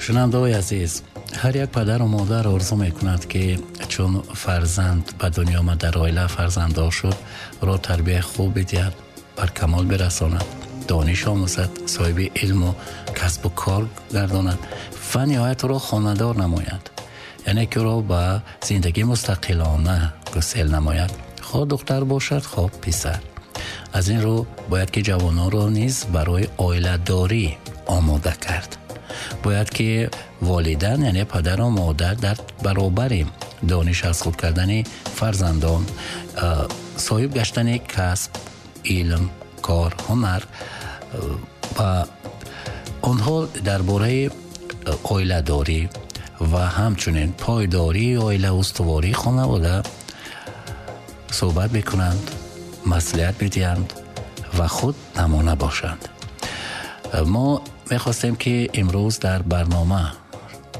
Шунавандаҳои азиз, ҳар як падару модар орзу мекунад, ки чун фарзанд ба дунё омад, дар оила фарзанддор шуд, ӯро тарбияи хуб бидиҳад, бар камол бирасонад, дониш омӯзад, соҳиби илму касбу кор гардонад ва ниҳоят ӯро хонадор намояд, яъне ки ӯро ба зиндагии мустақилона гусел намояд, хоҳ духтар бошад, хоҳ писар. Аз ин рӯ бояд ки ҷавононро низ барои оиладорӣ омода кард. Бояд ки волидан, яъне падару модар, дар баробари дониш аз худ кардани фарзандон, соҳиб гаштани касб, илм, кор, ҳунар ва онҳо дар бораи оиладорӣ ва ҳамчунин пойдории оила, устувории хонавода суҳбат мекунанд, маслиҳат медиҳанд ва худ намуна бошанд. Мо мехостем, ки имрӯз дар барнома,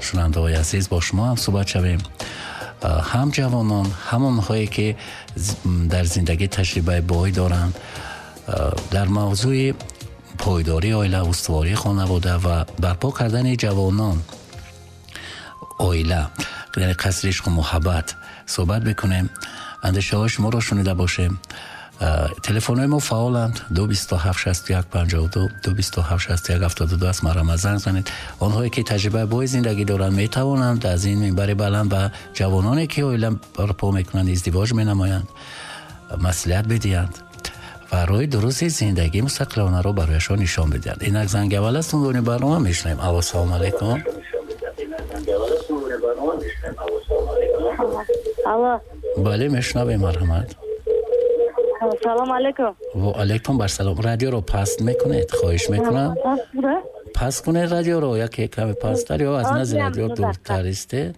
шунавандаҳои азиз, бо шумо ҳам суҳбат шавем, ҳам ҷавонон, ҳам онҳое ки дар зиндагӣ таҷрибаи бой доранд, дар мавзӯи пойдории оила, устувории хонавода ва барпо кардани ҷавонон оила, яъне қасри ишқу муҳаббат суҳбат бикунем, андешаҳои шуморо шунида бошем. Телефонҳои мо фаъоланд: 227 61 52, 227 61 72 аст. Марҳамат, занг занед. Онҳое ки таҷрибаи бои зиндагӣ доранд, метавонанд аз ин минбари баланд ба ҷавононе, ки оила барпо мекунанд, издивоҷ менамоянд, маслиҳат бидиҳанд ва роҳи дурусти зиндагии мустақилонаро барояшон нишон бидиҳанд. Инак занги аввал аст унвони барнома, мешунавем. Алло, салому алайкум. Алло. Бале, мешунавем, марҳамат. Салом алейкум. Ва алейкум барсалом. Радиоро паст мекунед, хоҳиш мекунам. Паст кунед радиоро, яке каме пасттар ё аз назди радио дуртар истед,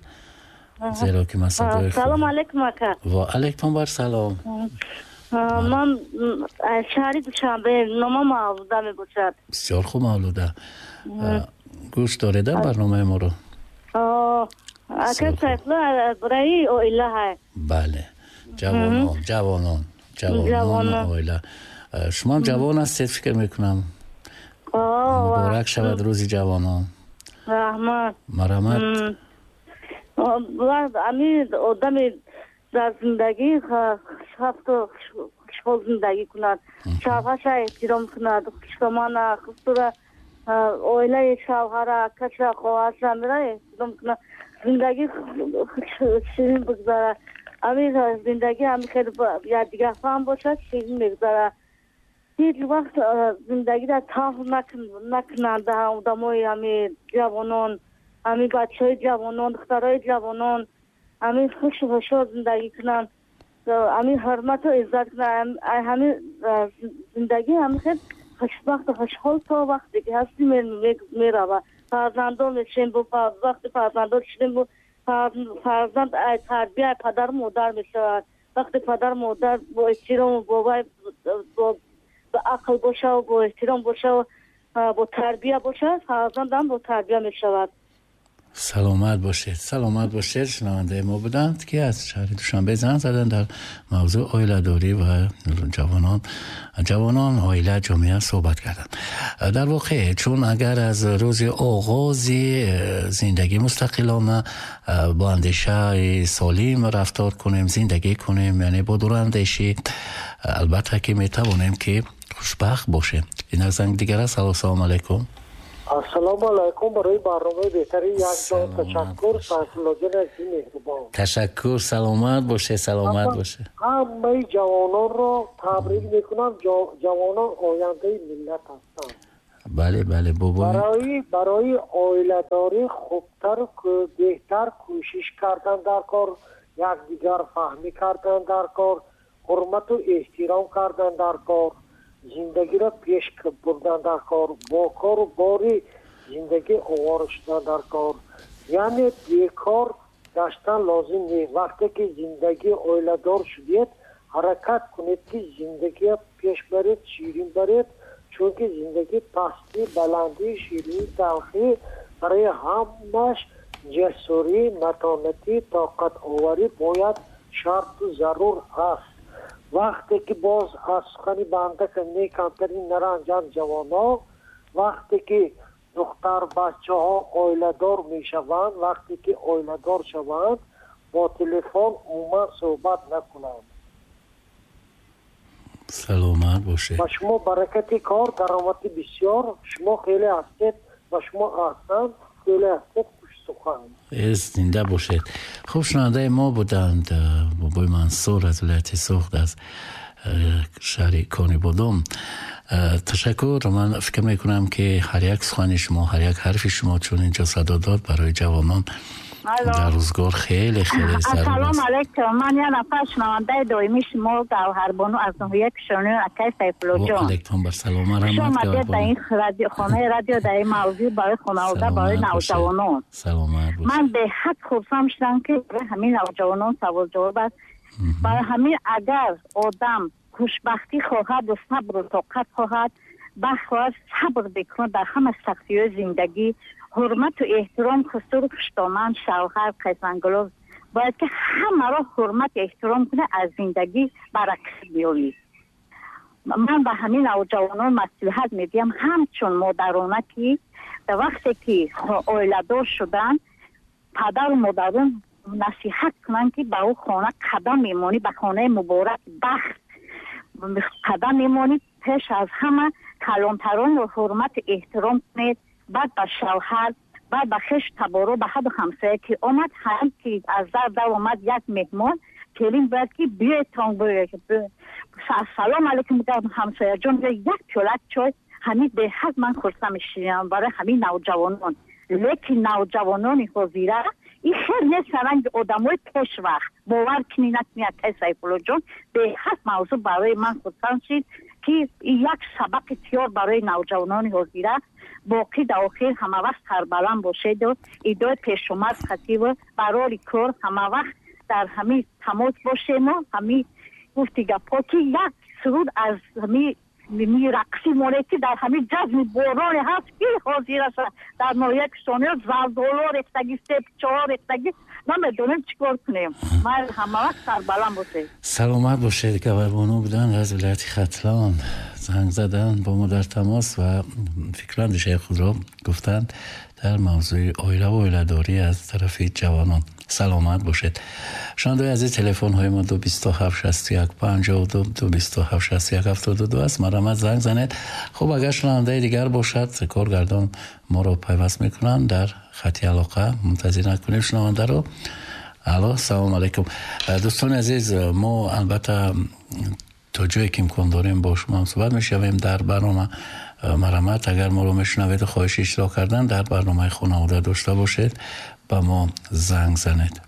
зеро ки ман садои Салом алейкум, ака. Ва алейкум барсалом. Ман аз шаҳри Душанбе, номам Мавлуда мебошад. Бисёр хуб, Мавлуда, гӯш дореда барномаи моро? Ака Сайфулло, барои оила ҳай. Бале, ҷавонон, ҷавонон, ҷавонон, оила. Шумоам ҷавон ҳастед, фикр мекунам. Муборак шавад рӯзи ҷавонон. Раҳмат. Марҳамат. Ами одами дар зиндагӣ хушбахту хушҳол зиндагӣ кунад, шавҳарша эҳтиром кунад, хушдомана, хусура, оилаи шавҳара, акаша, хоҳарша мера эҳтиром кунад, зиндагӣ ширин бигзарад. Ами зиндагӣ ами хеле якдигарфаҳм бошад, ширин мегузарад. Ҳеҷ вақт зиндагиро таҳв накунанд одамои ами ҷавонон, ами бачаҳои ҷавонон, духтарои ҷавонон, ами хушу хушҳол зиндагӣ кунанд, ами ҳурмату иззат кунанд. Ҳами зиндагӣ ҳами хел хушбахту хушҳол то вақте ки ҳастӣ меравад. Фарзандон мешавем, вақти фарзандон шудем, фарзанд тарбияи падару модар мешавад. Вақте падару модар бо эҳтирому бо вай, бо ақл бошаву бо эҳтиром бошаву бо тарбия бошад, фарзандам бо тарбия мешавад. Саломат бошед, саломат бошед. Шунавандаи мо буданд, ки аз шаҳри Душанбе занг заданд, дар мавзӯи оиладорӣ ва ҷавонон, ҷавонон, оила, ҷомеа суҳбат карданд. Дар воқеъ, чун агар аз рӯзи оғози зиндагӣ мустақилона, бо андешаи солим рафтор кунем, зиндагӣ кунем, яъне бо дурандешӣ, албатта ки метавонем, ки хушбахт бошем. Инак занг дигар аст. Алло, салому алайкум. Ассалому алайкум. Барои барномаи беҳтарин як ҷон ташаккур. Сайфуллоҷон азизи меҳрубон. Ташаккур, саломат бошед, саломат бошед. Ҳамаи ҷавононро табрик мекунам. Ҷавонон ояндаи миллат ҳастанд. Бале, бале, бобо. Барои оиладорӣ хубтару беҳтар кӯшиш кардан дар кор, якдигар фаҳмӣ кардан дар кор, ҳурмату эҳтиром кардан дар кор, зиндагиро пеш бурдан дар кор, бо кору бори зиндагӣ овора шудан дар кор. Яъне бекор гаштан лозим нест. Вақте ки зиндагӣ оиладор шудед, ҳаракат кунед, ки зиндагиро пеш баред, ширин баред, чунки зиндагӣ пастӣ, баландӣ, ширинӣ, талхӣ, барои ҳамаш ҷасурӣ, матонатӣ, тоқатоварӣ бояд шарту зарур аст. Вақте ки боз аз сухани банда не камтарин наранҷанд ҷавонон, вақте ки Духтар бачаҳо оиладор мешаванд, вақте ки оиладор шаванд, бо телефон умуман суҳбат накунанд. Саломат бошед. Ба шумо баракати кор, даромади бисёр. Шумо хеле ҳастед, ба шумо аҳсан, хеле ҳастед, хушсухан. Зинда бошед. Хуб, шунавандаи мо буданд бобои Мансур аз вилояти Суғд, аз шаҳри Конибодом. Ташаккур. Ман фикр мекунам, ки ҳар як сухани шумо, ҳар як ҳарфи шумо чун инҷо садо дод, барои ҷавонон дар рӯзгор хеле хеле зарур аст. Ассалому алайкум. Ман як нафар шунавандаи доимии шумо, Гавҳарбону аз ноҳияи Кишониён, акай Сайфуллоҷон. Ва алайкум ассалом, раҳмат. Шумо дар ин хонаи радио, дар ин мавзӯъ барои хонавода, барои навҷавонон. Саломат бошед. Ман беҳад хурсанд шудам, ки барои ҳамин навҷавонон савол ҷавоб аст. Барои ҳамин агар одам хушбахтӣ хоҳад ва сабру тоқат хоҳад, бахоҳад сабр бикунад дар ҳама сахтиҳои зиндагӣ, ҳурмату эҳтиром, хусуру хуштоман, шавҳар, қайсангулов бояд ки ҳамаро ҳурмат эҳтиром кунад, аз зиндагӣ баракат биёбӣ. Ман ба ҳамин навҷавонон маслиҳат медиҳам, ҳамчун модарона, ки дар вақте ки оиладор шуданд, падару модарон насиҳат кунанд, ки ба ӯ хона қадам мемонӣ, ба хонаи муборак бахт қадам мемонӣ, пеш аз ҳама калонтаронро ҳурмат эҳтиром кунед, баъд ба шавҳар, баъд ба хеш таборо, ба ҳаду ҳамсоя ки омад, ҳам ки аз дар омад як меҳмон, келин бояд ки биёедтон, салом алейкум ҳамсояҷон, як пиёлак чой. Ҳамин беҳад ман хурсанд мешавам барои ҳамин навҷавонон. Лекин навҷавонони ҳозира ин хел нест, ранги одамои пешвақт. Бовар кунӣ накунӣ, акай Сайфуллоҷон, беҳад мавзӯъ барои ман хурсанд шид, ки як сабақи тиёр барои навҷавонони ҳозира. Боқӣ дар охир ҳамавақт сарбаланд бошеду идои пешомад хативу барори кор ҳамавақт дар ҳамин тамос бошему ҳамин гуфти гапҳо, ки як суруд аз ҳамин рақси моне, ки дар ҳамин ҷазми бороне ҳаст, ки ҳозир аст дар ноҳияи Кишониён, зардоло рехтагӣ, себчаҳо рехтагӣ, намедонем чӣ кор кунем. Ман ҳамавақт сарбаланд бошед. Саломат бошед. Гавҳарбону буданд аз вилояти Хатлон, занг заданд, бо мо дар тамос ва фикру андешаи худро гуфтанд дар мавзӯи оила ва оиладорӣ аз тарафи ҷавонон. Саломат бошед. Шунавандаи азиз, телефонҳои мо 227 61 52, 227 61 72 аст. Марҳамат, занг занед. Хуб, агар шунавандаи дигар бошад, коргардон моро пайваст мекунанд дар хати алоқа. Мунтазир накунем шунавандаро. Алло, салом алайкум. Дӯстони азиз, мо албатта то ҷое ки имкон дорем бо шумо ҳам суҳбат мешавем дар барнома. Марҳамат, агар моро мешунавед, хоҳиши иштирок кардан дар барномаи хонавода дошта бошед, ба мо занг занед.